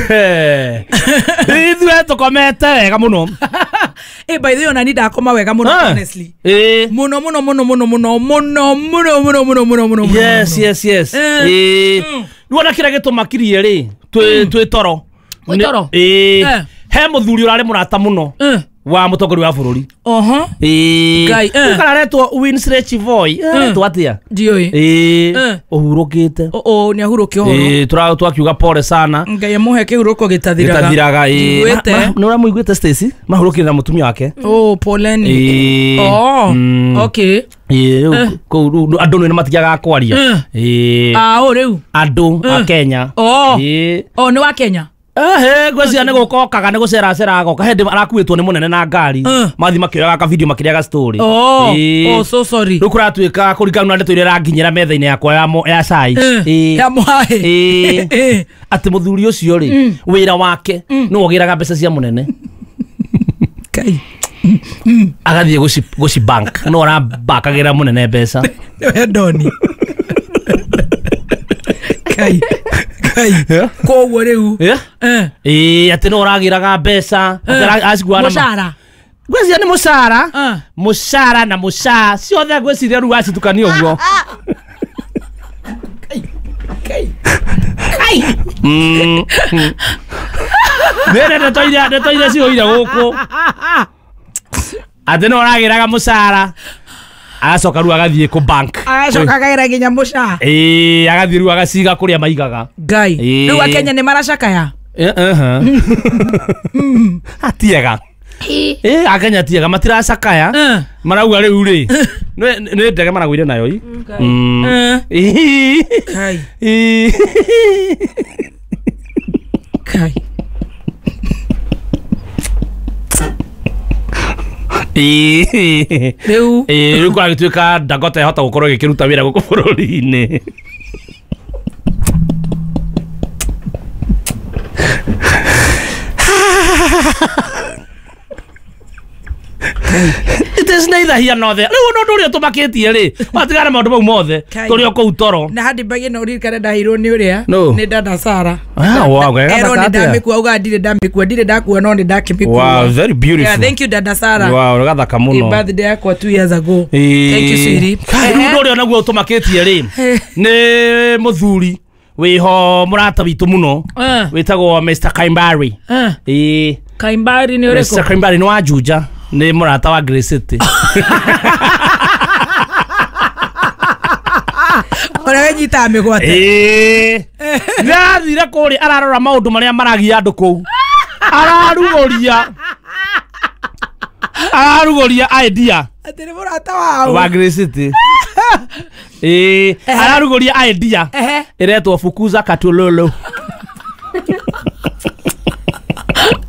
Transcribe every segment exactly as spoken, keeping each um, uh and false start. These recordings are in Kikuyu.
Eh ithuĩ tũkomete wega mũno. Eh, by the way, ona ni ndakoma wega mũno, honestly. Eh Mũno mũno mũno mũno mũno mũno mũno mũno mũno mũno mũno. Yes, yes, yes. Eh rĩu kĩrĩa gĩtũmakirie rĩ twĩ twĩ toro. Twĩ toro? Eh he mũthuri ũrarĩ mũrata mũno wa mũtongoria wa bũrũri. Oho. Eh Ngai, eh. ũkararetwo Winsley Chivoi. Aretwo atĩa? Ndiũĩ. Eh ũhurũkĩte. O o nĩ ahurũke ũhoro. Eh tura twakiuga pole sana. Ngai amũhe kĩhurũko gĩtathiraga. Gĩtathiraga eh. Ndiguĩte. Nĩ ũramũiguĩte Stacy? Mahurũkire na mũtumia wake. Oh, poleni. Eh. Oh, Mm. okay. Eh rĩu kũu rĩu andũ nĩ matigaga kwaria. Eh Ah, o rĩu. andũ a Kenya. Oh. Eh Oh, nĩ wa Kenya. ehe ngwĩciria nĩ gũka okaga nĩ gũceracera agoka hĩndĩ arakuĩtwo nĩ mũnene na ngari mathi makĩoyaga ka video makĩrĩaga story. Oh, Ĩĩ. oh, so sorry. Rĩu kũratuĩka kũringana na ndeto iria ĩranginyĩra metha-inĩ yakwa ya mo- ya cai. Ĩĩ. Ya mũhaĩ. Ĩĩ. Ĩĩ. Atĩ mũthuri ũcio rĩ wĩra wake nĩwe ũgĩraga mbeca cia mũnene Ngai. agathiĩ gũci gũci bank no arabakagĩra mũnene mbeca. Nĩwe Ndoni. Ngai. Ngai. Koguo rĩu. Yeah. Eh. Ĩĩ atĩ no ũragĩraga mbeca atĩ ara- acikuaga na ma- Mũcara. ngwĩciria nĩ mũcara. Eh. Mũcara na mũcaa ciothe ngwĩciria rĩu acitukania ũguo. Ngai. Ngai. Mm. Nĩ ndeto iria ndeto iria cihũire gũkũ atĩ no ũragĩraga mũcara agacoka rĩu agathiĩ kũ bank. Agacoka akagĩra nginya mũcaa. Ĩĩ agathiĩ rĩu agaciga kũrĩa maigaga. Ngai. Ĩĩ. Rĩu akenya nĩ maracakaya. Eh, eh. Atiega. Ĩĩ akenya tiega matiracakaya. Eh. Marauga rĩu rĩ nĩ nĩ ndege maragũire nayo i. Mm. Eh. Ĩĩ. Ngai. Ĩĩ. Ngai. Ĩĩ. Rĩu. Ĩĩ rĩu kũragĩtuĩka Dangote ĩhota gũkorwo ĩgĩkĩruta wĩra gũkũ bũrũri-inĩ. It is neither here nor there. Rĩu ũndũ ũrĩa ũtũmakĩtie rĩ watigana maũndũ mau mothe Kai. tũrĩ o kũu toro. Na handi mbagi no ririkane ndaheirwo nĩ ũrĩa No. nĩ dada Sara. Ah, wow, gathaka Erwo nĩ atĩa? ndamĩkua auga ndirĩ ndamĩkua ndirĩ ndakua no nĩ ndakĩmĩkua. Wow, very beautiful. Yeah, thank you dada Sara. Wow, gathaka mũno. Ĩ birthday yakwa two years ago. Ĩĩ. Thank you sweetie. Kai, rĩu ũndũ ũrĩa naguo ũtũmakĩtie rĩ nĩ mũthuri wĩho mũrata witũ mũno Eh. wĩtagwo Mister Kaimbari. Eh. Ĩĩ. Kaimbari nĩ Mister ũrĩkũ? Kaimbari nĩ wa Juja nĩ mũrata wa Grey City. Ũrĩa wĩnyitaga mĩgwate. Ĩĩ. Nĩarathire kũrĩa ararora maũndũ marĩa maragia andũ kũu. Ararugũria. Ararugũria idea Atĩ nĩ mũrata wao. wa Grey City. Ĩĩ, ararugũria idea Ehe. ĩretwo Fukuza Katululu.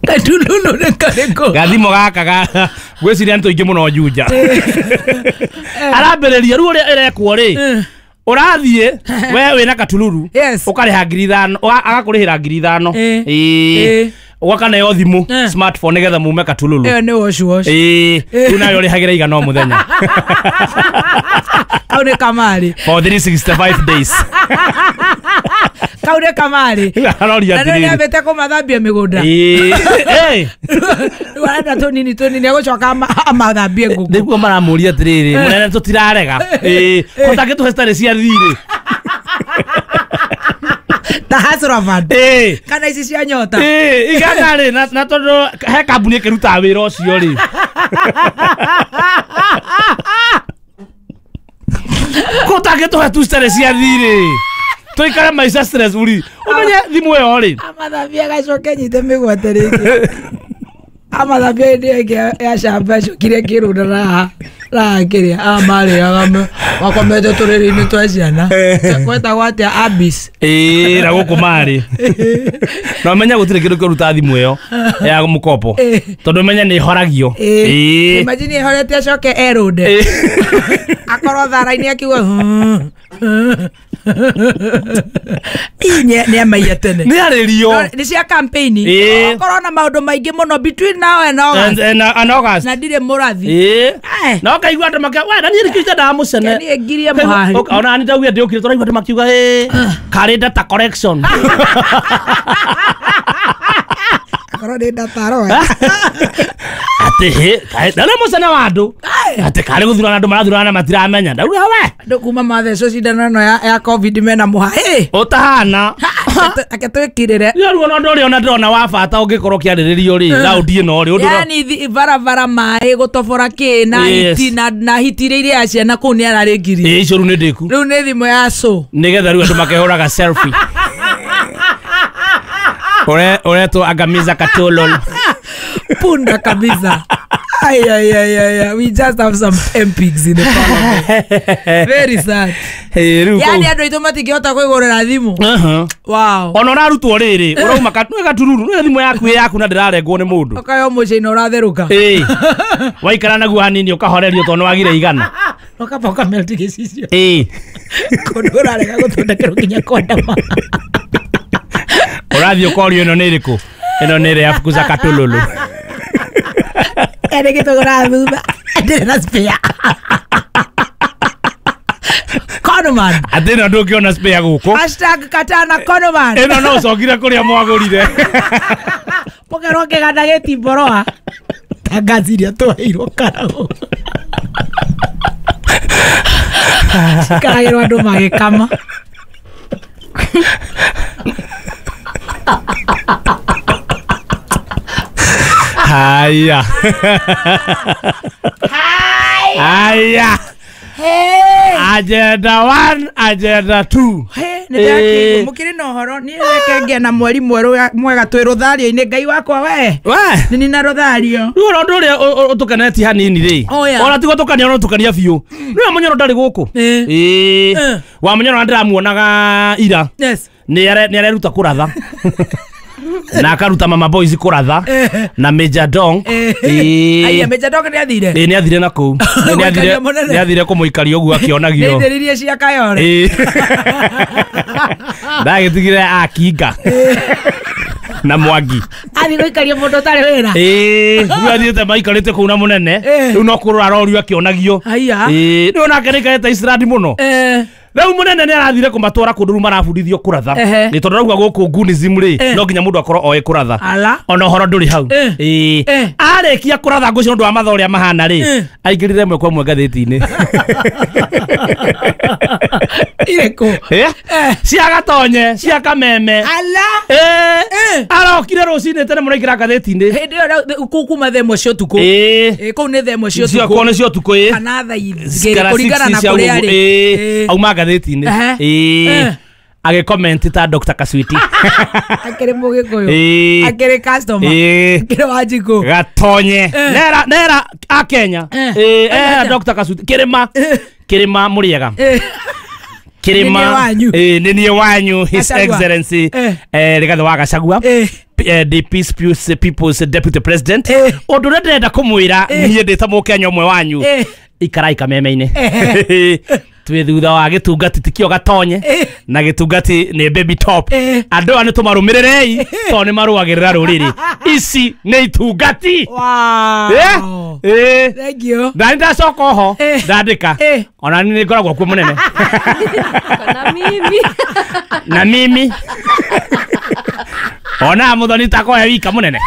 Katululu nĩ karĩkũ? Gathimo gaka ga ngwĩciria nĩ tũingĩ mũno Juja. Arambĩrĩria rĩu ũrĩa ĩrekwo rĩ ũrathiĩ we wĩna katululu Yes. ũkarĩha ngiri ithano ũga- agakũrĩhĩra ngiri ithano. Ĩĩ. Ĩĩ. Ĩĩ. Ũgakaneo thimũ Eh. smartphone nĩgetha mume katululu. Ĩyo nĩ wash wash. Ĩĩ rĩu nayo ũrĩhagĩra igana o mũthenya. Kau nĩ kamarĩ. For three sixty-five days. Kau nĩ kamarĩ. Aroria Na rĩu atĩrĩrĩ. nĩambĩte kũmathambia mĩgũnda. Ĩĩ. Ĩĩ. Rĩu arenda tũnini tũnini agũcoka ama- amathambie ngũkũ. Nĩguo maramũria atĩrĩrĩ mũnene tũtirarega. Ĩĩ. Ko tangĩtũhe citarĩ cia thirĩ. Ta Hustler Fund. Ĩĩ. Kana ici cia nyota. Ĩĩ, igana rĩ na na tondũ he kambuni ĩkĩrutaga wĩra ũcio rĩ. Ko tangĩtũhe tu citarĩ cia thirĩ. Tũikare maica stress free. Ũmenye thimũ ĩyo rĩ. Amathambia agacoke nyite mĩgwate rĩngĩ. Amathambia hĩndĩ ĩyo ĩngĩ ya shamba acokire akĩrũnda raha raha kĩrĩa aya marĩaga makomete tũrĩrĩ-inĩ twa ciana. Gwetagwo atĩa Abis. Ĩĩ na gũkũ marĩ. Na ũmenye gũtirĩ kĩndũ kĩruta thimũ ĩyo ya mũkopo. Tondũ ũmenye nĩ ĩhoragio. Ĩĩ. Imagine ĩhorete acoke erũnde. Ĩĩ. Akorwo thara-inĩ akiuga "Hmm." Ii nĩ amaiya tene. Nĩ arĩrio. Nĩ cia campaign. Ĩĩ. Okorwo na maũndũ maingĩ mũno between now and August. And, and, and August. Na ndirĩ mũrathi. Ĩĩ. Eh. Na ũkaigua andũ makiuga, we na niĩ nĩkĩo itendaga mũcene. Niĩ ngirie mũhari. Ũka- Ona ni ndaugire ndĩũkire tũraigua andũ makiuga ĩ karĩ data correction. Akorwo nĩ data roe. Atĩ hĩ, kaĩ- na nĩ mũcene wa andũ. Atĩ karĩ gũthurana andũ marathurana na matiramenya. Ndauga we. Andũ kuma mathecwo cindano ĩno ya, ya COVID mena mũha. Ĩ. Ũtahana. Ake twĩkirĩre. Rĩu ruo ũndũ ũrĩa ona ndĩrona wa bata ũngĩkorwo ũkĩarĩrĩrio rĩ, raundi ĩno rĩ, ũndũ ũrĩa- Yani thi- barabara maĩ gũtobora kĩ na Yes. hiti na, na hiti iria iria ciana kũu nĩ ararĩngirie. Ĩĩ, icio rĩu nĩ ndĩku. Rĩu nĩ thimũ ya cũ. Nĩgetha rĩu andũ makehũraga selfie. Ure uretwo angamiza katolol. Punda kabisa. Ay, ay, ay, ay, ay. We just have some M Ps in the parliament. Very sad. Hey, rĩu Yani kũu- andũ aitũ matingĩhota kwĩgũrĩra thimũ. Aha. Wow. Ona ũrarutwo rĩrĩ, ũrauma ka- nĩ gatururu, nĩ thimũ yaku ĩ yaku na ndĩrarengwo nĩ mũndũ. Ũkayo mũciĩ-inĩ ũratherũka. Ĩĩ. Waikara naguo hanini ũkahorerio tondũ nĩwagire igana. Ũkamba ũkamelt gĩcicio. Ĩĩ. Kũndũ ũrarega gũthondekerwo nginya kwandama. Ũrathiĩ ũkorio ĩno nĩ ĩrĩkũ? Ĩno nĩ ĩrĩa ya fukuza katululu. Ere gĩtũgũra thutha. Ndĩrĩ na spare. Conoman. Atĩ ĩno ndũngĩona spare gũkũ. Hashtag katana Conoman. Ĩno no ũcokire kũrĩa mwagũrire. Mũkerwo kĩganda gĩtimboroa. Ta ngaci iria twaheirwo karagũ. Cikaragĩrwo andũ magĩkama. Haya. Haya. Hey. Agenda one, agenda two. Hey, nĩ ndakĩigua mũkĩrĩ na ũhoro niĩ reke ngĩe na mweri mwerũ mwega twĩ rũthario-inĩ Ngai wakwa we. We. Nĩ nina rũthario. Rĩu ona ũndũ ũrĩa ũtũkenetie hanini rĩ. Oh, yeah. Ona tigo tũkania ona tũkania biũ. Rĩu Mũnyoro ndarĩ gũkũ. Ĩĩ. Ĩĩ. Eh. Wa Mũnyoro na ndĩramuonaga ira. Yes. Nĩ areruta kũratha. Na akaruta mama boys kũratha na Major Dong. Ĩĩ. Aya Major Dong nĩ athire. Ĩĩ nĩ athire na kũu. Nĩ athire nĩ athire kũmũikaria ũguo akĩonagio. Nĩ itheririe cia Kayore. Ĩĩ. Ndagĩtigire akinga. Na Mwangi. Athi gũikaria mũndũ ũtarĩ wĩra. Ĩĩ, rĩu athiĩte maikarĩte kũu na mũnene. Rĩu no kũrora arorio akĩonagio. Aya. Ĩĩ, rĩu onake nĩaikarĩte Iceland mũno. Eh. Rĩu mũnene nĩ arathire kũmatwara kũndũ rĩu marabundithio kũratha. Nĩ tondũ rauga gũkũ Gunism rĩ, no nginya mũndũ akorwo oĩ kũratha. Ona ũhoro ndũrĩ hau. Ĩĩ. Arĩkia kũratha ngũcio ũndũ wa mathaa ũrĩa mahana rĩ, aingĩrire ĩmwe kwa ĩmwe ngathĩti-inĩ. Irĩkũ? Cia Gatonye, cia Kameme. Ala. Ĩĩ. Arokire rũcinĩ tene mũno aingĩra ngathĩti-inĩ. Hĩndĩ ĩyo kũu kuma thaa ĩmwe cia ũtukũ. Ĩĩ. Kũu nĩ thaa ĩmwe cia ũtukũ. Kũu nĩ cia ũtukũ ĩĩ. Kana thaa igĩrĩ kũringana na kũrĩa arĩ. Ĩĩ. Auma ngathĩti-inĩ. Ĩĩ. Agĩcomment ta Doctor Kaswiti. Akĩrĩ Mũgĩkũyũ. Ĩĩ. Akĩrĩ customer. Ĩĩ. Akĩrĩ Wanjikũ. Gatonye. Nera nera a Kenya. Ĩĩ, eh Doctor Kaswiti Kĩrĩma. Kĩrĩma Mũrĩega. Kĩrĩma. Ĩĩ, nĩ niĩ wanyu His Excellency eh Rigathi wa Gachagua. The Peace People's Deputy President. Ũndũ ũrĩa ndĩrenda kũmwĩra niĩ ndĩ ta Mũkenya ũmwe wanyu. Ikarai kameme-inĩ. Twĩ thutha wa gĩtungati tikio Gatonye na gĩtungati nĩ baby top. Andũ aya nĩ tũmarũmĩrĩrei tondũ nĩ marũagĩrĩra rũrĩrĩ. Ici nĩ itungati. Wow. Eh. Thank you. Na ndacoka oho ndandĩka. Ona nĩ ngoragwo kuo mũnene. Na mimi. Na mimi. Ona Muthoni takoe wika mũnene.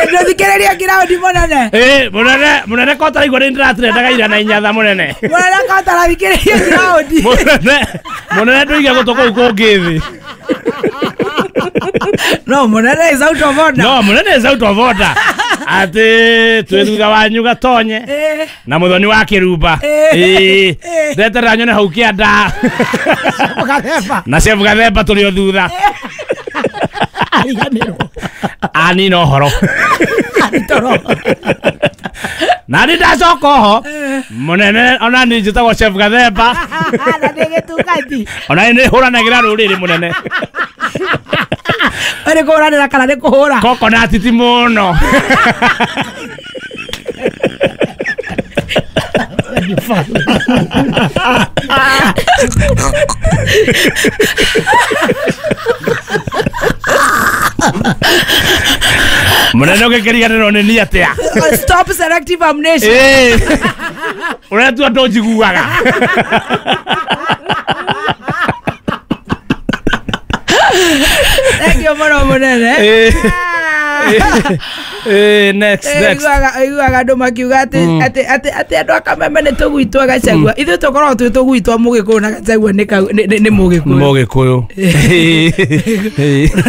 Ndũthikĩrĩria ngiraũndi mũnene. Ĩĩ, mũnene, mũnene ko ũtaraigua nĩ ndĩratrendaga ira na inyatha mũnene. Mũnene ko ũtarathikĩrĩria ngiraũndi. Mũnene, mũnene ndũige gũtũ kũu kũngĩ thĩ. No, mũnene is out of order. No, mũnene is out of order. Atĩ twĩ thutha wanyu Gatonye na Muthoni wa Kĩrumba. Ĩĩ. Ndeterera nyone hau kĩanda. Na Chef Gathemba tũrĩ o thutha. Ariganĩrwo. Anina ũhoro. Na nĩ ndacoka oho mũnene ona niĩ njĩtagwo Chef Gathemba. Na nĩ gĩtungati. Ona nĩ hũranagĩra rũrĩrĩ mũnene. Nĩ kũhũranĩra kana nĩ kũhũra? Coconut ti mũno. Mũnene ũgĩkĩriganĩrwo nĩ niĩ atĩa? Stop selective amnesia. Ũretua ndũnjiguaga. Thank you mũno mũnene. Eh, next, next. Aiguaga andũ makiuga atĩ atĩ atĩ atĩ andũ a Kameme nĩ tũgui twa Gachagua. Ithuĩ tũkoragwo twĩ tũgui twa Mũgĩkũyũ na Gachagua nĩ nĩ Mũgĩkũyũ. Mũgĩkũyũ.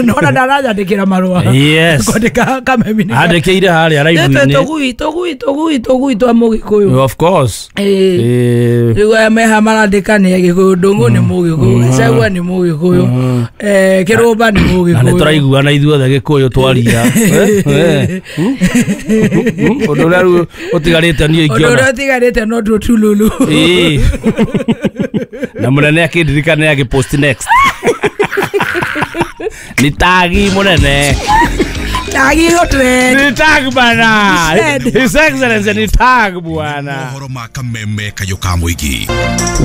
Nona ndaranyandĩkĩra marũa. Yes. Kwandĩka Kameme nĩ. Andĩkĩire harĩa live-inĩ. Tũgui tũgui tũgui tũgui twa Mũgĩkũyũ. Of course. Eh. Rĩu aya meha marandĩka nĩ Agĩkũyũ, Ndũng'ũ nĩ Mũgĩkũyũ, Gachagua nĩ Mũgĩkũyũ, eh Kĩrũmba nĩ Mũgĩkũyũ. Na nĩ tũraiguana ithuothe Gĩkũyũ twaria. Ũndũ ũrĩa rĩu ũtigarĩte niĩ ingĩona. Ũndũ ũrĩa ũtigarĩte no tũtululu. Ĩĩ. Na mũnene akĩndirikana agĩpost next. Ni tagi mũnene. Tagi hotre. Ni tag bana. His Excellency ni tag bwana. Mohoro ma Kameme kayo ka mũingĩ.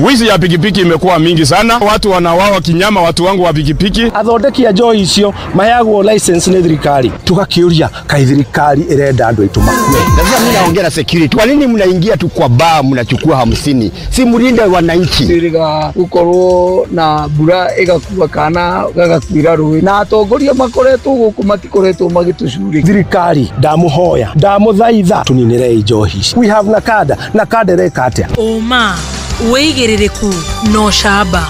Wizi ya pikipiki imekuwa mingi sana. Watu wanawawa kinyama, watu wangu wa pikipiki. Athondeki a njohi icio maheagwo license nĩ thirikari. Tugakiuria kai thirikari irenda andu aitu makue. Na sasa mimi naongea na security. Kwa nini mnaingia tu kwa bar mnachukua hamsini? Si mlinde wananchi. Siriga gukorwo na mbura igakua kana gagakuira rũĩ. Na atongoria makoretwo gũkũ matikoretwo magĩtũcurĩkia. Thirikari ndamuhoya ndamuthaitha tuninirei njohi. We have NACADA. NACADA ĩreka atĩa? Ũma wĩigĩrĩrĩku no camba.